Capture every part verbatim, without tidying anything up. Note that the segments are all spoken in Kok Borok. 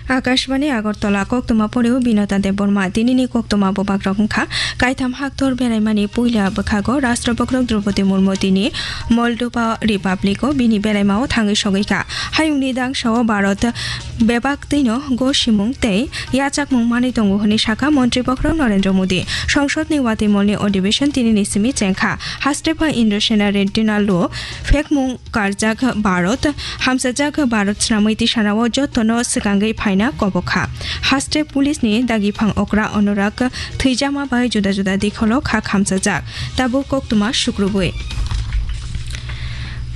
Akashbani Agartala, koktwma poreo Binota Debbarma. Tinini koktwma bubagrok wngkha: Kaitham haktor beraimani puila bwkhago Rashtra Bokhorok Droupadi Murmu tini Moldova Republic-o bini beraimao thangwi sogwi kha. Hayungni dangsao Bharat bebak twino gosimung tei yachakmung manwi tongo hwnwi sakha Montri Bokhorok Narendra Modi. Songsodni watwi molni odhibeshon tinini simi chengkha. Haste pha Indrasena Reddina lo phekmung karjak Bharat, hamsajak Bharat swnamwi tisanao jotono swkangwi phaina kobokha. Haste police ni dagiphang okra Anurag thwijama bai juda juda dikholo kha khamsajak. Tabuk koktwma sukrubwi.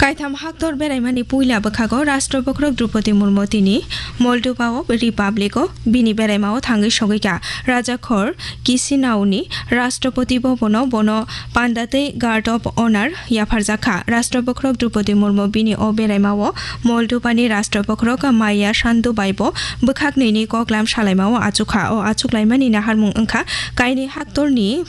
Kaitham haktor beraimani puila bwkhago Rashtra Bokhorok Droupadi Murmu tini Moldova o Republic o bini beraimao thangwi sogwi kha. Rajakhor Kisinauni Rashtrapati Bhavan o bono panda tei Guard of Honor yapharjakha. Rashtra Bokhorok Droupadi Murmu bini o beraimao Moldova ni Rashtra Bokhorok Maia Sandu bai bo bwkhak nwi ni koklam salaimao achukha. O achuklaimani naharmung wngkha kainwi haktorni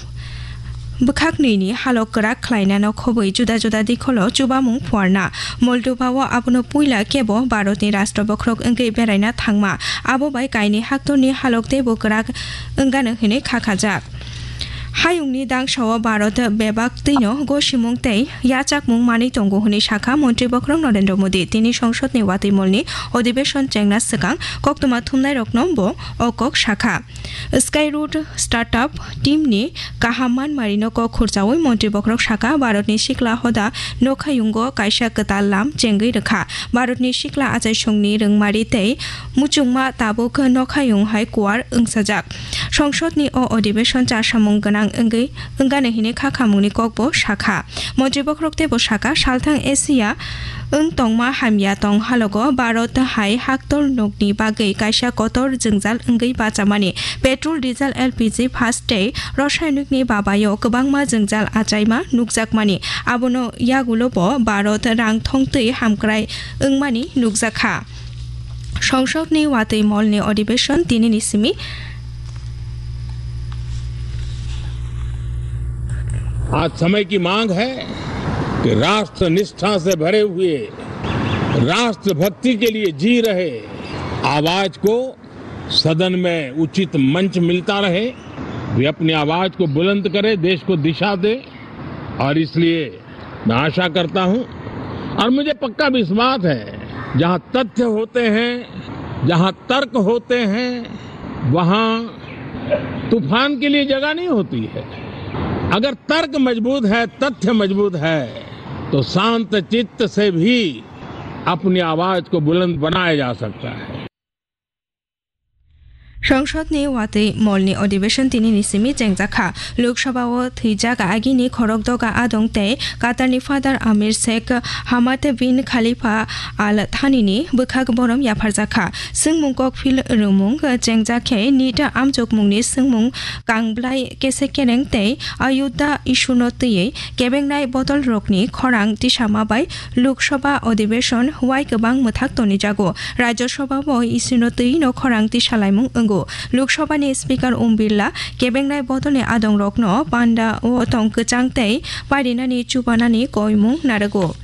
bwkhak nwi ni halok kwrak khlainano khobwi juda juda dikholo chubamung phuarna. Moldova o abono puila kebo Bharat ni Rashtra Bokhorok wngwi beraina thangma. Abo bai kainwi haktorni halok teibo kwrak wngano hwnwi kha khajak. Hayungni dangsao Bharat bebak twino gosimung tei yachakmung manwi tongo hwnwi sakha Montri Bokhorok Narendra Modi. Tini songsodni watwi molni odhibeshon chengna swkang koktwma thumnairokno bo o kok sakha. Skyroot startup team ni kaham manmarino kok khurchaui Montri Bokhorok sakha, Bharatni sikla hoda nokhayungo kaisa kwtal lam chengwi rwkha. Bharatni sikla achaisongni rwngmari tei muchungma tabuk nokhayung hai kuar wngsajak. Songsodni o odhibeshon chasamung gwnang wngwi wngano hwnwi kha khamungni kokbo sakha. Montri Bokhorok teibo sakha, salthang Asia wng tongma hamya tong halogo Bharat hai haktor nokni bagwi kaisa kotor jwngjal wngwi bachamani. Petrol, diesel, L P G, phas tei rasayonikni babaio kwbangma jwngjal achaima nukjakmani. Abono yagulobo Bharat rang thongtwi hamkrai wngmani nukjakha. Songsodni watwi molni odhibeshon tinini simi. आज समय की मांग है कि राष्ट्र निष्ठा से भरे हुए, राष्ट्रभक्ति के लिए जी रहे आवाज को सदन में उचित मंच मिलता रहे, वे अपनी आवाज को बुलंद करे, देश को दिशा दे। और इसलिए मैं आशा करता हूं और मुझे पक्का विश्वास है, जहां तथ्य होते हैं, जहां तर्क होते हैं, वहां तूफान के लिए जगह नहीं होती है। अगर तर्क मजबूत है, तथ्य मजबूत है, तो शांत चित्त से भी अपनी आवाज को बुलंद बनाया जा सकता है। Songsodni watwi molni odhibeshon tinini simi chengjakha. Lok Sabha o thwijak agini khorok doga adong tei Qatarni Father Amir Sheikh Hamad bin Khalifa Al Thanini bwkhak borom yapharjakha. Swngmung kokphil rwmung chengjak khe nita amjokmungni swngmung kangblai kese kereng tei Ayodhya issue no twiwi kebengnai bodol rokni khorang tisama bai Lok Sabha odhibeshon wai kwbang mwthak tonijago. Rajya Sabha bo issue no twiwi no khorang tisalaimung wngo. Lok Sabha ni Speaker Om Birla kebengnai bodolni adong rokno panda o tong kwchang tei parinani chubanani koimung narwgo.